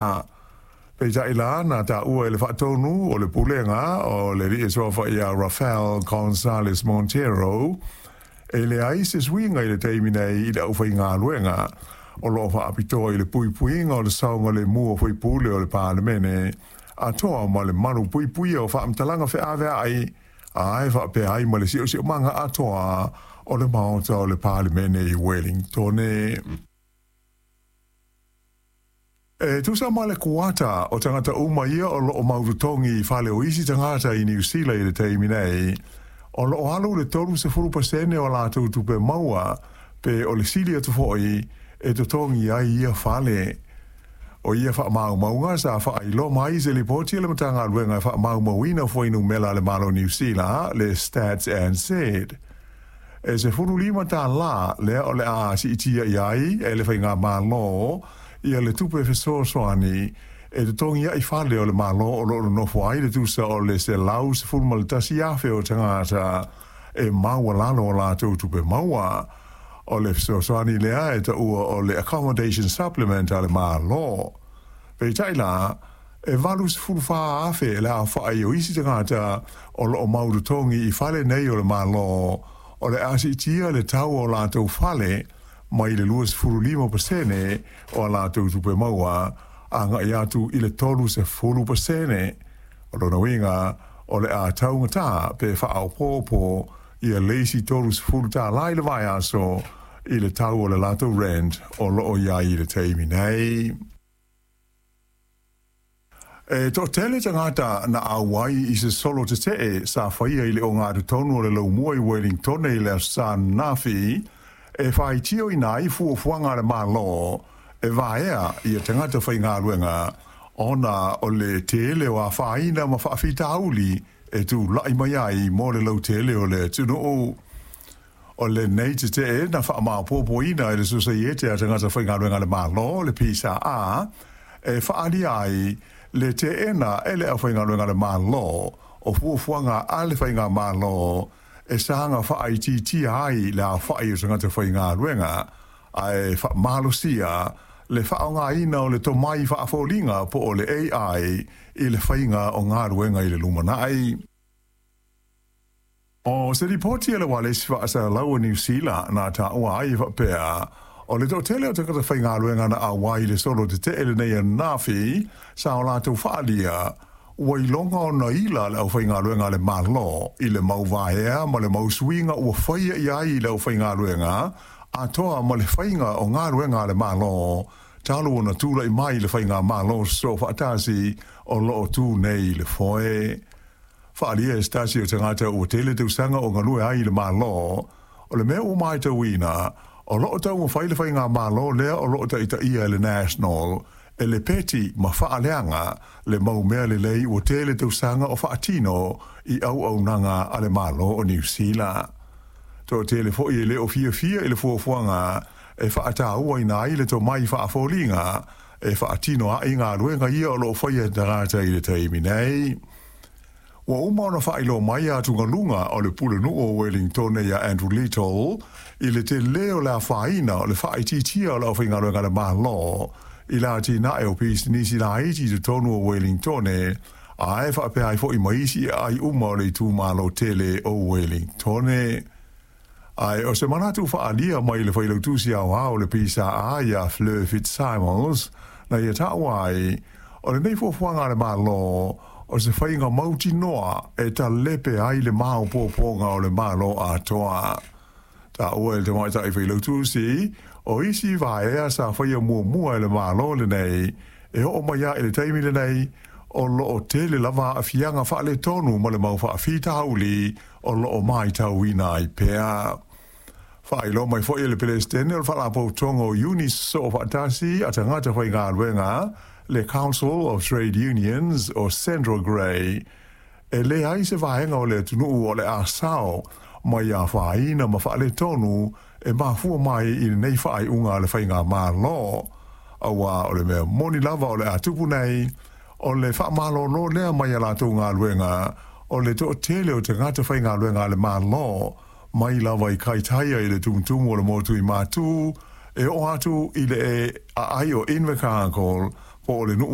Peitai la na taua e le faatonu o le pulega o le alii e suafa ia Rafael Gonzales Montero, e leai se suiga i le taimi nei i le aufaigaluega o loo faapitoa i le puipuiga o le saogalemu o faipule o le Palemene atoa ma le malu puipuia o faamatalaga feaveai ae faapea ai ma le siosiomaga atoa o le maota o le Palemene i Wellingtone. E tusa ma le kuata o tagata uma ia o loo mautotogi i fale o isi tagata i Niu Sila i le taimi nei, o loo alu le 30% o latou tupe maua pe o le sili atu foi e totogi ai ia fale. O ia faamaumauga sa faailoa mai i se lipoti a le Matagaluega e faamaumauina fuainumera a le Malo o Niu Sila, le Stats NZ. E $15 lea o le a siitia i ai e le Faigamalo ia le tupe fesoasoani e totogi ai fale o le Malo o lo o nonofo ai le tusa o le 111,000 o tagata e maualalo o latou tupe maua. O le fesoasoani lea e taua o le Accommodation Supplement a le Malo. Peitai la, e 84,000 le aofai o isi tagata o lo o mautotogi i fale nei o le Malo o le a siitia le tau o latou fale mai le 25% o a latou tupe maua agai atu i le 30%. O lona uiga, o le a taugata pe faaopoopo ia le isi $30 i le vaiaso i le tau o le latou rent o lo o i ai i le taimi nei. E toatele tagata na auai i se solo tetee sa faia i le ogatotonu o le Laumua i Wellingtone i le Aso Sa ananafi e faitioina ai fuafuaga a le Malo e vaea ia tagata faigaluega ona o le tele o afaina ma faafitauli e tulai mai ai mo le lautele o le atunuu. O lenei tetee na faamaopoopoina e le Sosaiete a Tagata Faigaluega a le Malo, le PSA, e faaalia ai le teena e le aufaigaluega a le Malo o fuafuaga a le Faigamalo e saga faaitiitia ai le aofai o tagata faigaluega ae faamalosia le faaaogaina o le tomai faafoliga po o le AI i le faiga o galuega i le lumanai. O se lipoti a le Ualesi Faasalalau o Niu Sila na taua ai e faapea, o le toatele o tagata faigaluega na auai i le solo tetee lenei ananafi sa o latou faaalia ua iloga ona ila le aufaigaluega a le Malo i le mau vaea ma le mau suiga ua faia i ai i le aufaigaluega atoa ma le faiga o galuega a le Malo talu ona tulai mai le Faigamalo Soofaatasi o lo o tu nei i le foe. Faaalia e se tasi o tagata ua tele tausaga o galue ai i le Malo, o le mea ua matauina, o lo o taumafai le Faigamalo lea o lo o taitaia e le National e lepeti ma faaleaga le mau mea lelei ua tele tausaga o faatino i auaunaga a le Malo o Niu Sila. Toatele foi e le o fiafia i le fuafuaga e faatauaina ai le tomai faafoliga e faatino ai galuega ia o lo o faia e tagata i le taimi nei. Ua uma ona faailoa mai atugaluga o le Pulenuu o Wellingtone ia Andrew Little i le tele o le afaina o le faaitiitia o le aufaigaluega a le Malo i le atinae o pisinisi laiti i totonu o Wellingtone ae faapea ai foi ma isi aai uma o le itumalo tele o Wellingtone. Ae o se manatu faaalia mai le Failautusi Aoao o le PSA ia Fleur Fitzsimons na ia taua ai, o lenei fuafuaga a le Malo o se faiga mautinoa e talepe ai le maopoopoga o le Malo atoa. Taua e le tamaitai Failautusi, o isi vaea sa faia muamua e le Malo lenei e oo mai lava i le taimi lenei, o lo o tele lava aafiaga faaletonu ma le mau faafitauli o lo o matauina ai pea. Faailoa mai foi e le Peresetene o le Faalapotopotoga o Iuni Soofaatasi a Tagata Faigaluega, le Council of Trade Unions o Sandra Gray, e leai se vaega o le atunuu o le a sao mai afaina ma faaletonu e mafua mai i lenei faaiuga a le Faigamalo, aua o le mea moni lava o le a tupu nei, o le faamalolo lea mai a latou galuega o le toatele o tagata faigaluega a le Malo, mai lava i Kaitaia i le tumutumu o le motu i Matu, e oo atu i le aai o Invercargill po o le nuu